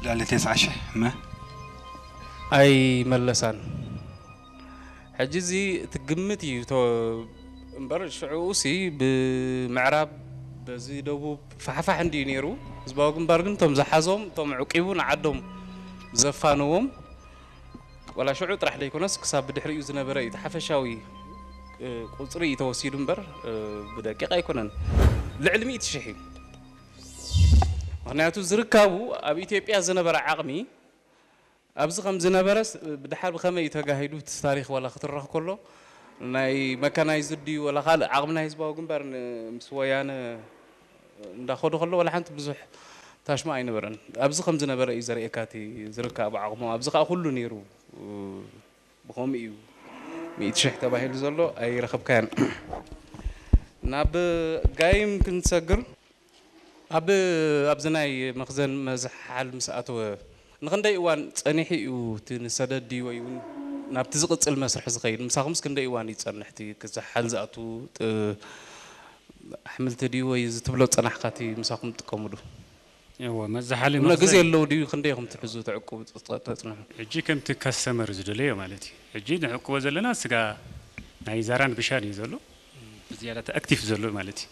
ላለ ተስዓ ሽሕ መ ኣይመለሳን። ሕጂ እዚ ትግምት እዩ ቶ- እምበር ሽዑ ሲ ብምዕራብ በዚ ደቡብ ፋሕፋሕ እንዲዩ ነይሩ። ህዝባዊ ግንባር ግን እቶም ዝሓዞም እቶም ዕቂቡ ንዓዶም ዘፋነዎም ዋላ ሽዑ ጥራሕ ዘይኮነስ ክሳብ ብድሕሪኡ ዝነበረ እዩ እቲ ሓፈሻዊ እ፣ ቁፅሪ እዩ ተወሲዱ እምበር እ፣ ብደቂቕ ኣይኮነን። ልዕሊ ሚእቲ ሽሕ እዩ። ምክንያቱ ዝርካቡ ኣብ ኢትዮጵያ ዝነበረ ዓቕሚ ኣብዚ ከም ዝነበረስ ብድሓር ብኸመይ እዩ ተጋሂዱ እቲ ታሪክ ዋላ ክትረኽ ከሎ ናይ መካናይዝድ ድዩ ዋላ ካልእ ዓቕሚ ናይ ህዝባዊ ግንባር ን- ምስ ወያነ እንዳኸዱ ከሎ ዋላ ሓንቲ ብዙሕ ታሽማ ኣይነበረን። ኣብዚ ከም ዝነበረ እዩ ዘርእየካ እቲ ዝርካብ ዓቕሙ። ኣብዚ ከዓ ኩሉ ነይሩ። ብኸምኡ እዩ ሚእቲ ሽሕ ተባሂሉ ዘሎ ኣይረኸብካያን። ናብ ጋይም ክንሰግር ኣብ ኣብዚ ናይ መኽዘን መዝሓል ምስ ኣተወ ንኽንደይ እዋን ጸኒሑ እዩ እቲ ንሰደድ ድዩ ወይ እውን ናብቲ ዝቕጽል መስርሕ ዝኸይድ? ምሳኹምስ ክንደይ እዋን እዩ ዝጸንሕ እቲ ክዝሓል ዝኣቱ ጥ- ኣሕምልቲ ድዩ ወይ እዚ ትብሎ ዝጸናሕካ እቲ ምሳኹም ትጥቀምሉ? እዎ መዛሓሊ እሞ ግዜ መኽዘን ኣለዉ ድዩ? ክንደይ ኢኹም ትሕዙ ተዕቁቡ ጸ- ተጽንሑ? ሕጂ ከምቲ ካስተመር ዝደለዮ ማለት እዩ። ሕጂ ንዕቅቦ ዘለና ስጋ ናይ ዛራን ብሻን እዩ ዘሎ ብዝያዳ ኣክቲቭ ዘሎ ማለት እዩ።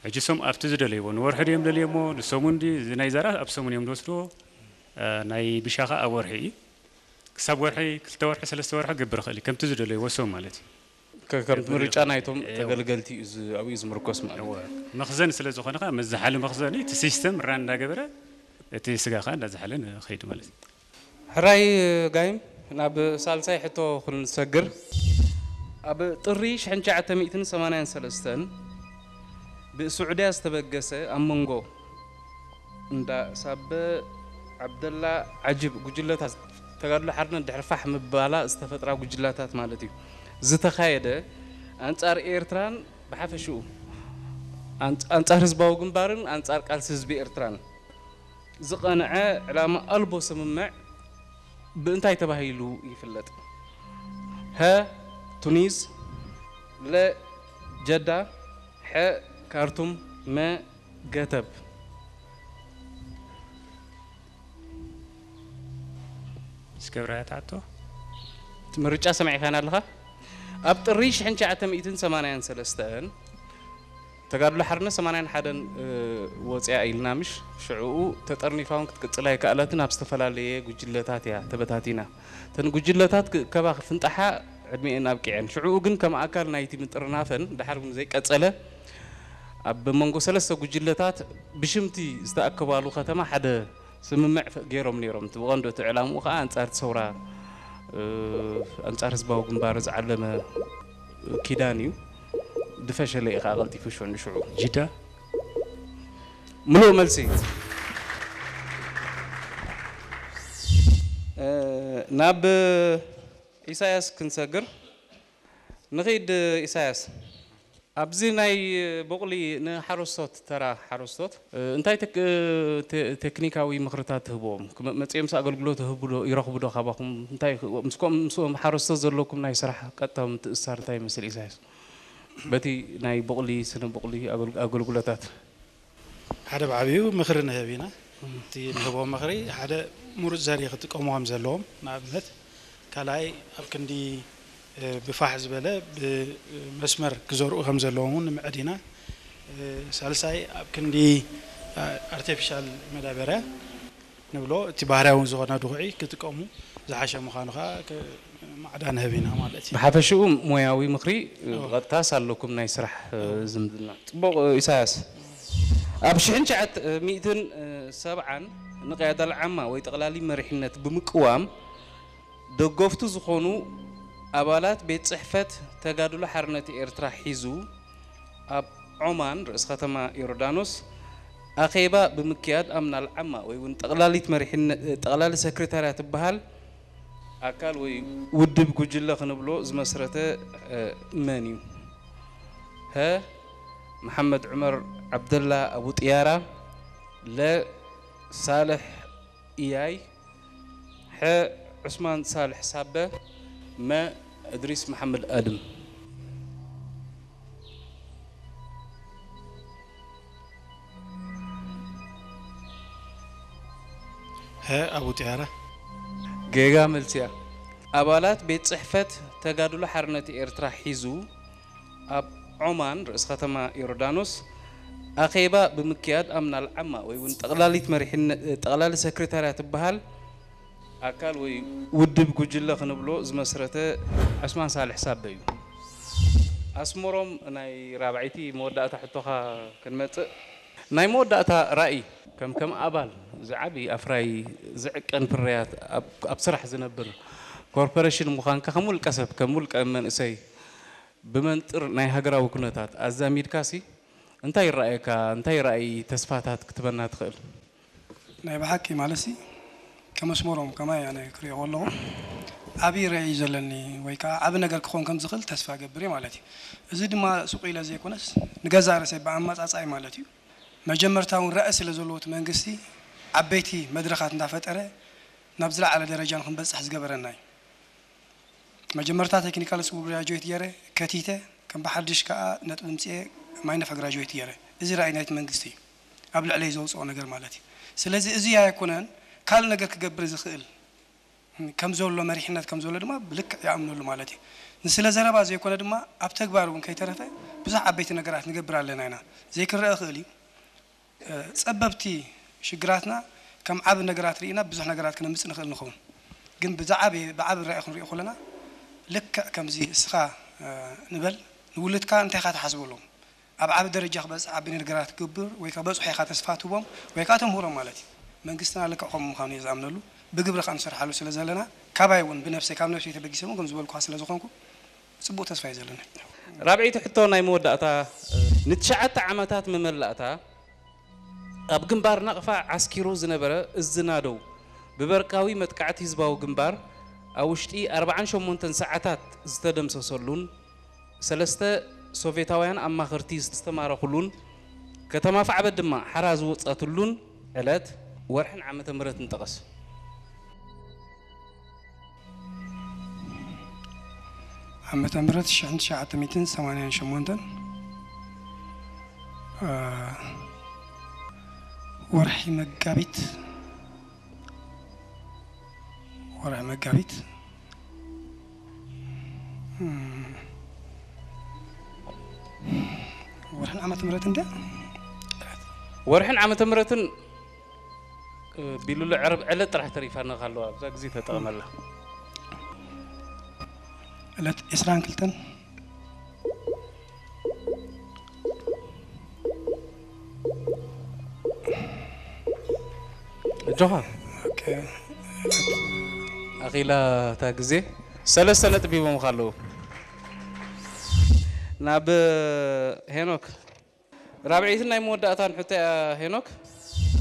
ሕጂ ሶም ኣብቲ ዝደለይዎ ንወርሒ ድዮም ደልዮሞ ንሰሙን ድዩ? እዚ ናይ ዛራ ኣብ ሰሙን እዮም ዝወስድዎ። እ፣ ናይ ብሻ ኸዓ ኣብ ወርሒ እዩ። ክሳብ ወርሒ ክልተ ወርሒ ሰለስተ ወርሒ ክገብር ይኽእል እዩ ከምቲ ዝደለይዎ ሶም ማለት እዩ። ከ- ከምቲ ምርጫ ናይቶም እዎ። ተገልገልቲ እዩ ዝ- ኣብኡ እዩ ዝምርኮስ ማለት እዩ። እወ። መኽዘን ስለ ዝኾነ ኸዓ መዛሓሊ መኽዘን እዩ። እቲ ሲስተም ራን እንዳገበረ እቲ ስጋ ኸዓ እንዳዛሓለ ንኸይድ ማለት እዩ። ሕራይ ጋይም ናብ ሳልሳይ ሕቶ ክንሰግር ኣብ ጥሪ ሽሕን ትሽዓተ ሚእትን ሰማንያን ሰለስተን ብስዑድያ ዝተበገሰ ኣብ መንጎ እንዳ ሳበ ዓብደላ ዓጅብ ጉጅለታት ተጋድሎ ሓርነት ድሕሪ ፋሕ ምባላ ዝተፈጥራ ጉጅላታት ማለት እዩ ዝተኻየደ ኣንጻር ኤርትራን ብሓፈሽኡ ኣንጻ- ኣንጻር ህዝባዊ ግንባርን ኣንጻር ቃልሲ ህዝቢ ኤርትራን ዝቐንዐ ዕላማ ኣልቦ ስምምዕ ብእንታይ ተባሂሉ ይፍለጥ? ሀ ቱኒዝ፣ ለ ጀዳ፣ ሐ ካርቱም፣ መ ገተብ። እስከብራያ ትሓቶ እቲ ምርጫ ሰሚዕካና ኣለኻ? ኣብ ጥሪ ሽሕን ትሽዓተ ሚእትን ሰማንያን ሰለስተን ተጋድሎ ሓርነት ሰማንያን ሓደን ወፅያ ኢልና ምሽ ሽዕኡ ተጠርኒፋውን ክትቅፅል ኣይከኣለትን ኣብ ዝተፈላለየ ጉጅለታት እያ ተበታቲና። እተን ጉጅለታት ክእከባ ክፍንጣሓ ዕድሚኤን ኣብቂዐን። ሽዕኡ ግን ከም ኣካል ናይቲ ምጥርናፈን ድሓር እውን ዘይቀፀለ ኣብ መንጎ ሰለስተ ጉጅለታት ብሽምቲ ዝተኣከባሉ ከተማ ሓደ ስምምዕ ገይሮም ነይሮም። እቲ ብቐንዱ እቲ ዕላምኡ ከዓ ኣንፃር እቲ ሰውራ ኣንፃር ህዝባዊ ግንባር ዝዓለመ ኪዳን እዩ። ድፈሸለ እዩ ከዓ ቀልጢፉ ሽዑ ንሽዑ ጅዳ ምሉእ መልሲ ናብ ኢሳያስ ክንሰግር ንኺድ። ኢሳያስ ኣብዚ ናይ ቦቕሊ ንሓረስቶት ተራ ሓረስቶት እንታይ ቴክኒካዊ ምኽርታት ትህብዎም? መፅኦም ምስ ኣገልግሎት ይረኽቡ ዶ ካባኹም? እንታይ ምስኦም ሓረስቶት ዘለኩም ናይ ስራሕ ቀጥታዊ ምትእስሳር እንታይ ይመስል? ኢሳያስ በቲ ናይ ቦቕሊ ስነ ቦቕሊ ኣገልግሎታት ሓደ ብዓብዩ ምኽሪ ንህብ ኢና። እቲ ንህቦም ምኽሪ ሓደ ምሩፅ ዘርኢ ክጥቀሙ ከም ዘለዎም ንኣብነት ካልኣይ ኣብ ክንዲ ብፋሕ ዝበለ ብመስመር ክዘርኡ ከም ዘለዎም እውን ንምዕድ ኢና። ሳልሳይ ኣብ ክንዲ ኣርቲፊሻል መዳበርያ ንብሎ እቲ ባህርያዊ ዝኾነ ድኹዒ ክጥቀሙ ዝሓሸ ምዃኑ ከዓ ማዕዳ ንህብ ኢና ማለት እዩ። ብሓፈሽኡ ሞያዊ ምኽሪ ብቐጥታስ ኣለኩም ናይ ስራሕ ዝምድና ፅቡቕ። ኢሳያስ ኣብ ሽሕን ትሽዓተ ሚእትን ሰብዓን ንቅያዳ ልዓማ ወይ ጠቕላሊ መሪሕነት ብምቅዋም ደገፍቱ ዝኾኑ ኣባላት ቤት ፅሕፈት ተጋድሎ ሓርነት ኤርትራ ሒዙ ኣብ ዖማን ርእስ ከተማ ዮርዳኖስ ኣኼባ ብምክያድ ኣምና ልዓማ ወይ እውን ጠቕላሊት መሪሕነት ጠቕላሊ ሰክሬታርያ ትበሃል ኣካል ወይ ውድብ ጉጅለ ክንብሎ ዝመስረተ መን እዩ? ሀ መሓመድ ዑመር ዓብደላ ኣቡ ጥያራ፣ ለ ሳልሕ ኢያይ፣ ሐ ዑስማን ሳልሕ ሳበ፣ መ እድሪስ መሓመድ ኣድም። ሀ፣ አቡ ጥያራ። ጌጋ መልሲ እያ። ኣባላት ቤት ጽሕፈት ተጋድሎ ሓርነት ኤርትራ ሒዙ ኣብ ዖማን ርእሲ ከተማ ዮርዳኖስ ኣኼባ ብምክያድ ኣምና ልዓማ ወይ እውን ጠቕላሊት መሪሕነት ጠቕላሊ ሰክሬታርያ ትበሃል ኣካል ወይ ውድብ ጉጅለ ክንብሎ ዝመስረተ ዑስማን ሳልሕ ሳበ እዩ። ኣስመሮም፣ ናይ ራብዐይቲ መወዳእታ ሕቶኻ ክንመጽእ፣ ናይ መወዳእታ ራእይ ከም ከም ኣባል ዝዓቢ ኣፍራይ ዝዕቀን ፍርያት ኣብ ኣብ ስራሕ ዝነብር ኮርፖሬሽን ምዃንካ ከም ውልቀ ሰብ ከም ውልቀ መንእሰይ ብመንጥር ናይ ሃገራዊ ኩነታት ኣዛሚድካሲ እንታይ ይረኣየካ? እንታይ ራእይ ተስፋታት ክትበና ትኽእል? ናይ ብሓቂ ማለትሲ ከም ኣስመሮም ከማይ ኣነ ክሪኦ ከለኹ ዓብዪ ራእይ እዩ ዘለኒ ወይ ከዓ ዓቢ ነገር ክኸውን ከም ዝኽእል ተስፋ ገብር እየ ማለት እዩ። እዚ ድማ ሱቕ ኢለ ዘይኮነስ ንገዛእ ርእሰይ ብኣመጻጽኣይ ማለት እዩ። መጀመርታ እውን ራእይ ስለ ዘለዎ እቲ መንግስቲ ዓበይቲ መድረኻት እንዳፈጠረ ናብ ዝለዓለ ደረጃ ንክንበፅሕ ዝገበረና እዩ። መጀመርታ ቴክኒካል ስኩል ግራጁዌት ገይረ ከቲተ ከም ብሓድሽ ከዓ ነጥቢ ምፅኤ ማይነፋ ግራጁዌት ገይረ። እዚ ራእይ ናይቲ መንግስቲ እዩ ኣብ ልዕለይ ዘውፅኦ ነገር ማለት እዩ። ስለዚ እዚ ኣይኮነን ካልእ ነገር ክገብር ዝኽእል ከም ዘሎ መሪሕነት ከም ዘሎ ድማ ብልክዕ ይኣምነሉ ማለት እዩ። ንስለ ዘረባ ዘይኮነ ድማ ኣብ ተግባር እውን ከይተረፈ ብዙሕ ዓበይቲ ነገራት ንገብር ኣለና ኢና። ዘይክረአ ይኽእል እዩ። ጸበብቲ ሽግራትና ከም ዓቢ ነገራት ርኢና ብዙሕ ነገራት ክነምጽእ ንኽእል ንኸውን። ግን ብዝዓቢ ብዓቢ ራኢ ክንሪኦ ከለና ልክዕ ከምዚ እስኻ ንበል ንውልድካ እንታይ ኢኻ ትሓስበሎም ኣብ ዓቢ ደረጃ ክበጽሕ ዓቢ ነገራት ክገብር ወይ ከበጽሖ ኢኻ ተስፋ ትህቦም ወይ ከኣ ተምህሮም ማለት እዩ። መንግስትና ልክዕ ከምኡ ምዃኑ እየ ዝኣምነሉ። ብግብሪ ከኣ ንሰርሓሉ ስለ ዘለና ካባይ እውን ብነብሰይ ካብ ነብሰይ ተበጊሰ እውን ከም ዝበልኩኻ ስለ ዝኾንኩ ጽቡቕ ተስፋ እዩ ዘለኒ። ራብዐይቲ ሕቶ ናይ መወዳእታ ንትሽዓተ ዓመታት መመላእታ ኣብ ግንባር ናቕፋ ዓስኪሩ ዝነበረ እዝ ናደው ብበርቃዊ መጥቃዕቲ ህዝባዊ ግንባር ኣብ ውሽጢ ኣርብዓን ሸሞንተን ሰዓታት ዝተደምሰሰሉን ሰለስተ ሶቬታውያን ኣማኸርቲ ዝተማረኹሉን ከተማ ፋዕበት ድማ ሓራ ዝወፀትሉን ዕለት ወርሕን ዓመተ ምህረትን ጠቐስ። ዓመተ ምህረት ሽሕን ትሽዓተ ሚእትን ሰማንያን ሸሞንተን ወርሒ መጋቢት ወርሒ መጋቢት ወርሕን ዓመተ ምህረት እንደ ወርሕን ዓመተ ምህረትን ቢሉሉ ዕረብ ዕለት ጥራሕ ተሪፋና ካለዋ ኣብዛ ግዜ ተጠቐመላ። ዕለት ዕስራን ክልተን እጆኻ ኣኺላ እታ ግዜ ሰለስተ ነጥቢ ሂቦምኻ ኣለዉ። ናብ ሄኖክ ራብዐይትን ናይ መወዳእታን ሕቶ እያ ሄኖክ።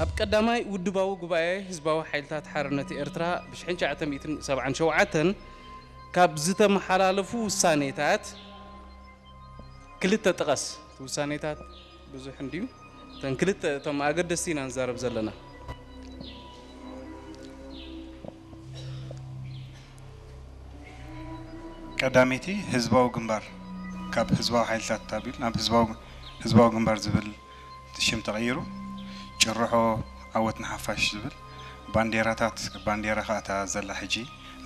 ኣብ ቀዳማይ ውድባዊ ጉባኤ ህዝባዊ ሓይልታት ሓርነት ኤርትራ ብ ትሽዓተ ሰብዓን ሸውዓተን ካብ ዝተመሓላለፉ ውሳኔታት ክልተ ጥቀስ። እቲ ውሳኔታት ብዙሕ እንድዩ። እተን ክልተ እቶም ኣገደስቲ ኢና ንዛረብ ዘለና። ቀዳመይቲ ህዝባዊ ግንባር ካብ ህዝባዊ ሓይልታት ኣቢሉ ናብ ህዝባዊ ህዝባዊ ግንባር ዝብል ሽም ተቐይሩ ጭርሖ ዓወት ንሓፋሽ ዝብል ባንዴራታት ባንዴራ ከዓ እታ ዘላ ሕጂ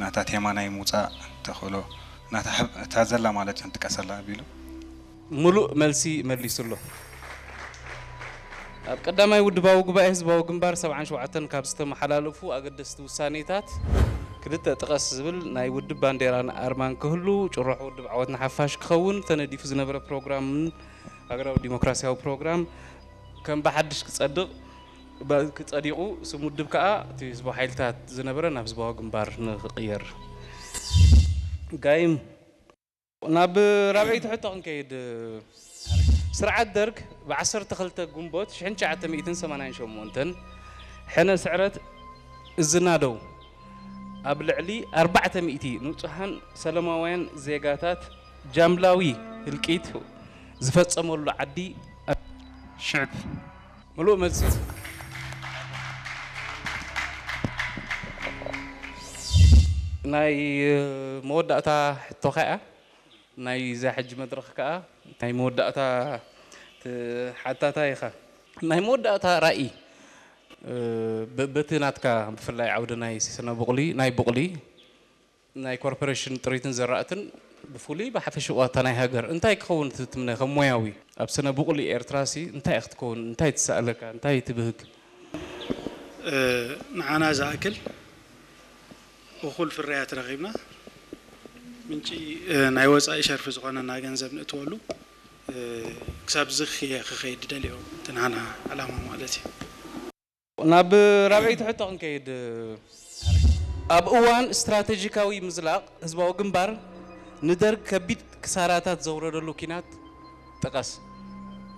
ናታ ቴማ ናይ ምውፃእ ተኽእሎ ናታ ዘላ ማለት ክንጥቀሰላ ኣቢሉ ምሉእ መልሲ መሊሱ ኣሎ። ኣብ ቀዳማይ ውድባዊ ጉባኤ ህዝባዊ ግንባር ሰብዓን ሸውዓተን ካብ ዝተመሓላለፉ ኣገደስቲ ውሳኔታት ክልተ ጥቀስ ዝብል ናይ ውድብ ባንዴራን ኣርማን ክህሉ፣ ጭርሖ ውድብ ዓወት ንሓፋሽ ክኸውን ተነዲፉ ዝነበረ ፕሮግራምን ሃገራዊ ዲሞክራሲያዊ ፕሮግራም ከም ብሓድሽ ክጸድቕ ክጸዲቑ ስም ውድብ ከኣ እቲ ህዝባዊ ሓይልታት ዝነበረ ናብ ህዝባዊ ግንባር ንክቕየር ጋይም ናብ ራብዐይቲ ሕቶ ክንከይድ፣ ስርዓት ደርግ ብ ዓሰርተ ክልተ ግንቦት ሽሕን ትሽዓተ ሚእትን ሰማንያን ሸሞንተን ሕነ ስዕረት እዝናደው ኣብ ልዕሊ ኣርባዕተ ሚእቲ ንጹሃን ሰለማውያን ዜጋታት ጃምላዊ ህልቂት ዝፈጸመሉ ዓዲ ሽዕብ ምሉእ መልሲ ናይ መወዳእታ ሕቶኻ እያ። ናይዛ ሕጂ መድረኽ ከኣ ናይ መወዳእታ ሓታታይ ኢኻ። ናይ መወዳእታ ራእይ በቲ ናትካ ብፍላይ ዓውዲ ናይ ስነ ቡቕሊ ናይ ቡቕሊ ናይ ኮርፖሬሽን ጥሪትን ዘራእትን ብፍሉይ ብሓፈሽኡ ዋታ ናይ ሃገር እንታይ ክኸውን ትትምነ ከም ሞያዊ ኣብ ስነ ቡቕሊ ኤርትራሲ እንታይ ክትከውን እንታይ ትሰኣለካ እንታይ ትብህግ? ንዓና ዝኣክል እኹል ፍርያት ረኺብና ምንጪ ናይ ወፃኢ ሸርፊ ዝኾነና ገንዘብ ንእትወሉ ክሳብ ዝኽየ ክኸይድ ደልዮ እቲ ንዓና ዕላማ ማለት እዩ። ናብ ራብዐይቲ ሕቶ ክንከይድ፣ ኣብ እዋን ስትራቴጂካዊ ምዝላቕ ህዝባዊ ግንባር ንደርግ ከቢድ ክሳራታት ዘውረደሉ ኲናት ጥቐስ።